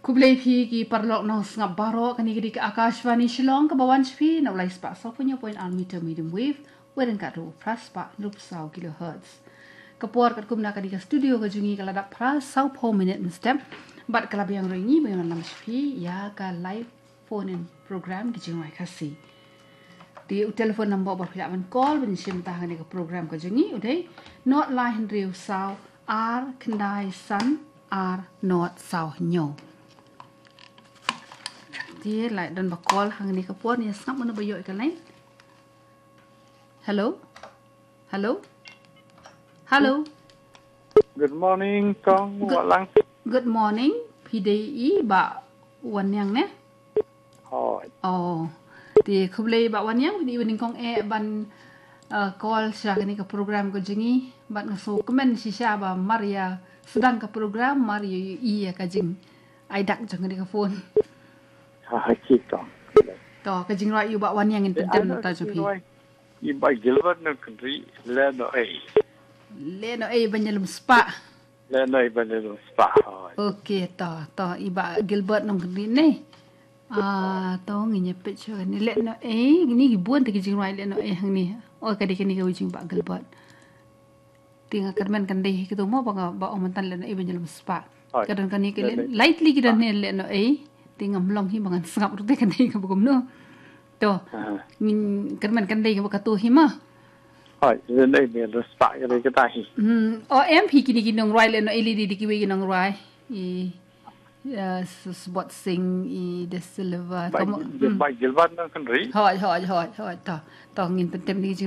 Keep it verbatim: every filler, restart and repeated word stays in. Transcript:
Khublei phi ki paralok nongsngap baroh, kane ka dei ka Akashvani Shillong kaba wan sha phi na u lai spah saw phew hynñiew point ar meter medium wave, wei ryngkat ruh phra spah hynriew phew saw kilohertz. Ka por katkum na ka dei ka studio ka jong ngi ka la dap phra saw phew minit mynstep, bad ka la biang ruh ïa ngi ban ïalam sha phi ïa ka live phone in program Ki Jingrwai Khasi. Te u telephone number ba phi lah ban call ban shim bynta hangne ka program ka jong ngi u dei, nod lai hynriew saw ar khyndai san ar nod saw hynñiew. Te lah don ba call hangne ka por, ngin ïa sngap mano ba ïoh ïa ka line. Hello? Hello? Hello? Good morning, Kong. Good, Walang. Good morning. Phi dei i Bah Wanniang ne? Hooid. Oh. Te khublei Bah Wanniang, phi dei i ba nyngkong eh ban, uh, call sha kane ka program ka jong ngi. Bad nga sngewkmen shisha ba mar ïa sdang ka program, mar ïa ïohi ïa ka jingai dak jong kane ka phone. Ha, ha, ki Kong. To, ka jingrwai ïa u Bah Wanniang ngin pyntip na ka ta jong phi. Jingrwai. I Bah Gilbert Nongkynrih, Lehnohei. Lehnohei ban ïalum spah. Lehnohei ban ïalum spah. Oh. Okay, to, to, i Bah Gilbert Nongkynrih ne. Ah, to, ngin ïa peit shuwa ne, Lehnohei, ne ki bun te ki jingrwai Lehnohei hangne. Oh, ka dei kane kawei jong Bah Gilbert. Te nga kyrmen kan dei hi kito mo ba nga ba ong mynta Lehnohei ban ïalum spah. Hooid. Ka don kane ka Lehnohei. Lehnohei, lightly ki don hi Lehnohei. Te ngam long hi ba ngan sngap ruh te kan dei kaba kumno. To. Aha. Ngin kyrmen kan dei kaba kato hi mo. Hooid, Lehnohei ban ïalum spah ka dei kata hi. Hmm, o em phi kine ki nongrwai Lehnohei lei dei kiwei ki nongrwai. I, uh, Sbot Singh, i De Silva. Bah, Bah Gilbert Nongkynrih. Hooid, hooid, hooid, hooid. To, to ngin pyntip ne ki jing